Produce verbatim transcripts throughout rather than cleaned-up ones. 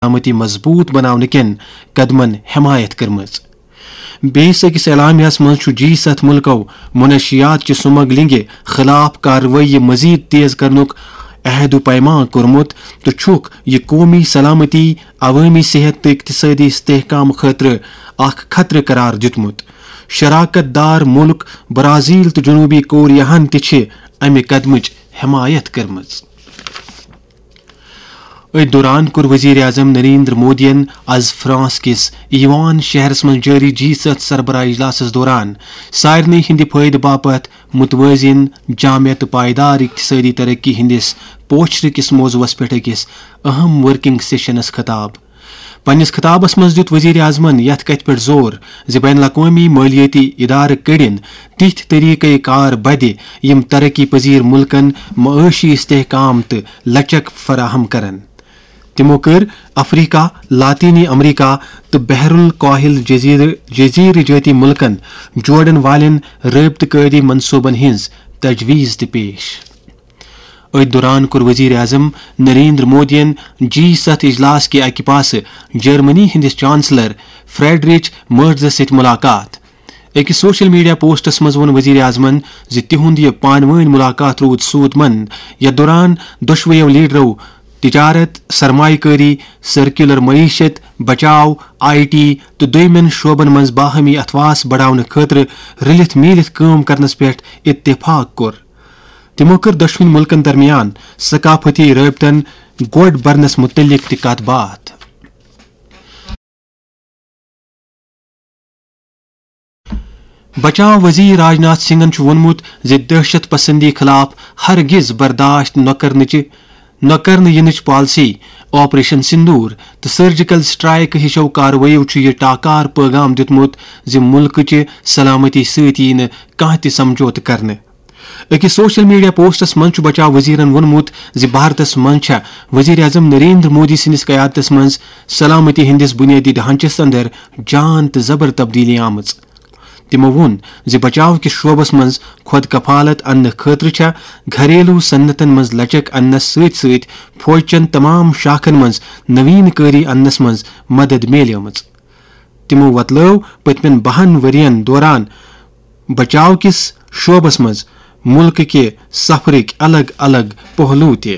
سلامتی مضبوط بناونہٕ کٮ۪ن قدمن حمایت کٔرمٕژ۔ بیٚیِس أکِس اعلامیہس منٛز چھُ جی ستھ مُلکو منشیات چہِ سمگلنگہِ خلاف کاروٲیی مزید تیز کرنُک عہد و پیمان کوٚرمُت تہٕ چھُکھ یہِ قومی سلامتی، عوٲمی صحت تہٕ اقتصٲدی استحکام خٲطرٕ اکھ خطرٕ قرار دیُتمُت۔ شراکت دار مُلک برازیل تہٕ جنوبی کوریاہن تہِ چھِ امہِ قدمٕچ حمایت کٔرمٕژ۔ أتھۍ دوران کوٚر وزیر اعظم نریندر مودیَن از فرانس کِس ایوان شہرس منٛز جٲری جی ستھ سربراہ اجلاسس دوران سارنٕے ہٕنٛدِ فٲیدٕ باپتھ متوازن، جامع تہٕ پائیدار اقتصٲدی ترقی ہٕنٛدِس پوچھرٕ کِس موضوعس پٮ۪ٹھ أکِس اہم ورکنگ سیشنس خطاب۔ پننِس خطابس منٛز دِیُت وزیر اعظمن یتھ کتھِ پٮ۪ٹھ زور زِ بین الاقوٲمی مٲلیٲتی ادارٕ کٔڑِن تِتھۍ طریقہٕ کار بدِ، یِم ترقی پذیر ملکن معاشی استحکام تہٕ لچک فراہم کرن۔ تِمو کٔر افریقہ، لاطینی امریکہ تہٕ بحر الکاہل جزیرٕ، جزیرٕ جٲتی ملکن جوڑن والٮ۪ن رٲبطہٕ کٲری منصوبن ہٕنٛز تجویز تہِ پیش۔ أتھۍ دوران کوٚر وزیر اعظم نریندر مودیَن جی ستھ اجلاس کہِ اکہِ پاسہٕ جرمنی ہٕنٛدِس چانسلر فریڈریچ مرزس سۭتۍ ملاقات۔ أکِس سوشل میڈیا پوسٹس منٛز ووٚن وزیر اعظمن زِ تِہُنٛد یہِ پانہٕ وٲنۍ ملاقات روٗد سوٗد مند، یتھ دوران دۄشوٕیو لیڈرو تجارت، سرمایہ کٲری، سرکیولر معیشت، بچاو، آئی ٹی تہٕ دوٚیمٮ۪ن شعبن منٛز باہمی اتھواس بڑاونہٕ خٲطرٕ رلِتھ میٖلِتھ کٲم کرنس پٮ۪ٹھ اتفاق کوٚر۔ تِمو کٔر دۄشوٕنی مُلکن درمیان ثقافتی رٲبطن گۄڈ برنس مُتعلق تہِ کتھ باتھ۔ بچاو وزیر راج ناتھ سنگھن چھُ ووٚنمُت زِ دہشت پسندی خلاف ہرگز برداشت نہ کرنٕچہِ، نہ کرنہٕ یِنٕچ پالیسی آپریشن سندور تہٕ سرجیکل سٹرائیک ہِشو کاروٲییو چھُ یہِ ٹاکار پٲغام دیُتمُت زِ مُلکٕچہِ سلامتی سۭتۍ یِیہِ نہٕ کانٛہہ تہِ سمجھوتہٕ کرنہٕ۔ أکِس سوشل میڈیا پوسٹس منٛز چھُ بچاو وزیرن ووٚنمُت زِ بھارتس منٛز چھےٚ وزیر اعظم نریندر مودی سٕنٛدِس قیادتس منٛز سلامتی ہٕنٛدِس بنیٲدی ڈھانچس اندر جان تہٕ زبر تبدیلی آمٕژ۔ تِمو ووٚن زِ بچاو کِس شعبس منٛز خود کفالت اننہٕ خٲطرٕ چھےٚ گھریلو صنعتن منٛز لچک اننس سۭتۍ سۭتۍ فوج چٮ۪ن تمام شاخن منٛز نوین کٲری اننس منٛز مدد میلیمٕژ۔ تِمو وۄتلٲو پٔتمٮ۪ن بَہَن ؤرین دوران بچاو کِس شعبس منٛز مُلکہٕ کہِ سفرٕکۍ الگ الگ پہلو تہِ۔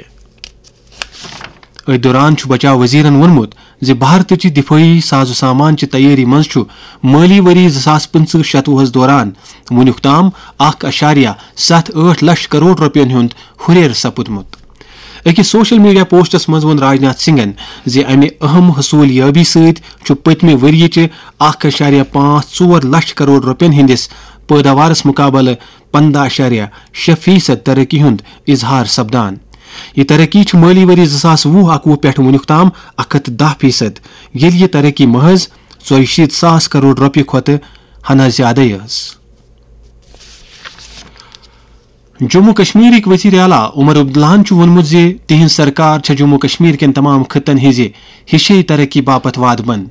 أتھۍ دوران چھُ بچاو وزیرن ووٚنمُت زِ بھارتٕچہِ دِفٲعی ساز و سامان چہِ تیٲری منٛز چھُ مٲلی ؤری زٕ ساس پٕنٛژٕہ شتوُہس دوران وُنیُک تام اکھ اَشاریہ ستھ ٲٹھ لچھ کرور رۄپین ہُنٛد ہُرٮ۪ر سپُدمُت۔ أکِس سوشل میڈیا پوسٹس منٛز ووٚن راج ناتھ سنگھن زِ امہِ اہم حصوٗل یٲبی سۭتۍ چھُ پٔتمہِ ؤرۍ یہِ چہِ اکھ اَشاریہ پانٛژھ ژور لچھ کرور رۄپین ہٕنٛدِس پٲداوارس مُقابلہٕ پنٛداہ اَشاریہ شےٚ فیصد ترقی ہُنٛد اظہار سپدان۔ یہِ ترقی چھِ مٲلی ؤری زٕ ساس وُہ اَکوُہ پٮ۪ٹھ وُنیُک تام اکھ ہتھ دَہ فیصد، ییٚلہِ یہِ ترقی محض ژۄیہِ شیٖتھ ساس کرور رۄپیہِ کھۄتہٕ ہنا زیادَے ٲس۔ جموں کشمیرٕکۍ وزیر اعلیٰ عمر عبداللہَن چھُ ووٚنمُت زِ تِہنٛز سرکار چھےٚ جموں کشمیر کٮ۪ن تمام خطن ہٕنٛزِ ہِشے ترقی باپتھ وعدٕ بنٛد۔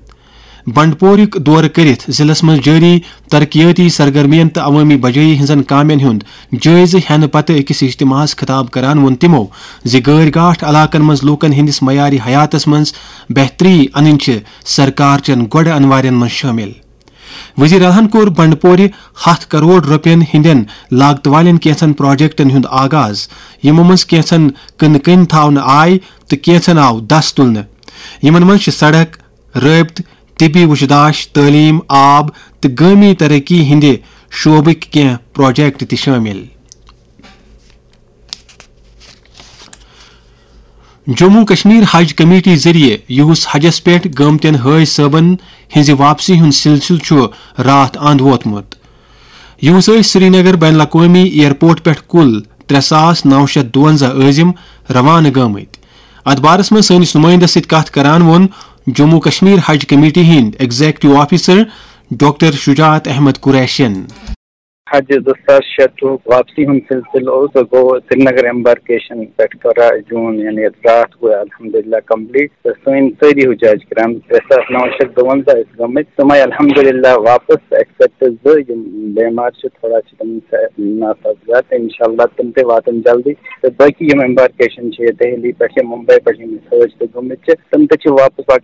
بنڈپورُک دورٕ کٔرِتھ ضلعس منٛز جٲری ترقیٲتی سرگرمیَن تہٕ عوٲمی بجٲیی ہٕنٛزن کامٮ۪ن ہُنٛد جٲیزٕ ہٮ۪نہٕ پتہٕ أکِس اجتماعس خطاب کران ووٚن تِمَو زِ غٲرۍ گاٹھ علاقن منٛز لوٗکن ہٕنٛدِس معیارِ حیاتس منٛز بہتری انٕنۍ چھِ سرکار چٮ۪ن گۄڈٕ انوارٮ۪ن منٛز شٲمِل۔ وزیر اعلیٰ ہَن کوٚر بنڈپورِ ہتھ کرور رۄپین ہٕنٛدٮ۪ن لاگتہٕ والٮ۪ن کینٛژن پروجیکٹن ہُنٛد آغاز، یِمو منٛز کینٛژن کٕنہٕ کٔنۍ تھاونہٕ آے تہٕ کینٛژن آو دَس تُلنہٕ۔ یِمن منٛز چھِ سڑک، رٲبطہٕ، طبی وُچھداش، تعلیٖم، آب تہٕ گٲمی ترقی ہٕنٛدِ شعبٕکۍ کینٛہہ پروجیکٹ تہِ شٲمِل۔ جموں کشمیر حج کمیٹی ذٔریعہٕ یُس حجس پٮ۪ٹھ گٲمتٮ۪ن حٲج صٲبن ہٕنٛزِ واپسی ہُنٛد سلسلہٕ چھُ راتھ اند ووتمُت۔ یُس ٲسۍ سرینگر بین الاقوٲمی ایئرپورٹ پٮ۪ٹھ کُل ترٛےٚ ساس نو شیٚتھ دُوَنزاہ عٲزم روانہٕ گٲمٕتۍ۔ اتھ بارس منٛز سٲنِس نُمٲیندس سۭتۍ کتھ کران ووٚن جموں کشمیر حج کمیٹی ہٕنٛدۍ ایگزیکٹو آفیسر ڈاکٹر شجاعت احمد قریشین۔ حج زٕ ساس شیٚتُک واپسی ہُنٛد سلسلہٕ اوس، سُہ گوٚو سرینگر ایمبارکیشن پٮ۪ٹھ کَران جوٗن، یعنی یَتھ راتھ گوٚو الحمدللہ کمپلیٖٹ۔ تہٕ سٲنۍ سٲری حجاج کرام، ترٛےٚ ساس نَو شیٚتھ دُوَنزاہ ٲسۍ گٔمٕتۍ، تِم آیہِ الحمدللہ واپس، ایکسپٹ زٕ یِم بیمار چھِ، تھوڑا چھِ تِم سا-، ناسازگار، تہٕ انشاءاللہ تِم تہِ واتن جلدی۔ تہٕ باقی یِم ایمبارکیشن چھِ دہلی پٮ۪ٹھ یا ممبئی پٮ۪ٹھ یِم حٲج تہِ گٔمٕتۍ چھِ، تِم تہِ چھِ واپس پکان۔